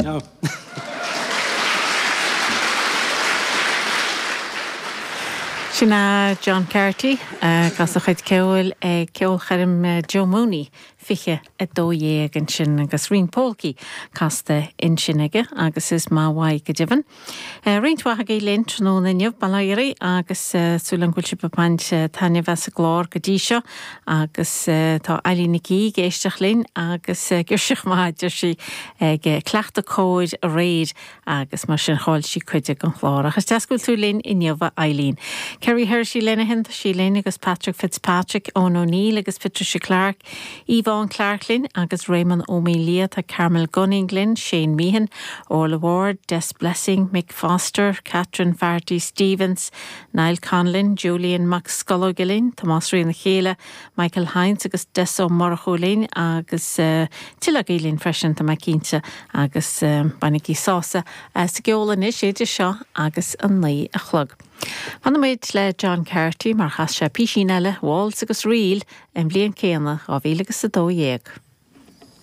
Ciao. Sin é John Carty ag casadh a chuid ceoil ag ceolchoirm Joe Mooney 2012 ansin agus roinnt pólcaí casta ansin aige agus is maith uaidh go deimhin. Roinnt mhaith agaibh linn tráthnóna inniu, bail ó Dhia oraibh agus súil agam go bhfuil sibh ag baint taitneamh as an gclár go dtí seo agus tá Eileen Nic Aoidh ag éisteacht linn agus girseach maith a deir sí ag cleachtadh cóir aréir agus mar sin chaill sí cuid den chlár. Ach is deas go bhfuil tú linn inniu a Eileen. Kerry Herity Lenihan tá sí linn agus Patrick Fitzpatrick, Eoin O'Neill agus Patricia Clarke Yvonne Clarke linn agus Réamonn Ó Maonlaí, tá Carmel Gunning linn, Shane Meehan, Orla Ward, Des Blessing, Mick Foster, Catherine Faherty Stevens, Niall Conlon, Julian Mac Scolóige linn, Tomás Rí na Chéile, Michael Hynes agus Des Ó Murchú linn agus tuilleadh agaibh linn freisin, tá mé cinnte, agus bainigí sásamh as an gceol anois idir seo agus a 9 a chlog. Fanfaidh muid le John Carty mar chas sé písín eile, Waltz agus Reel, an bhliain céanna, 2012.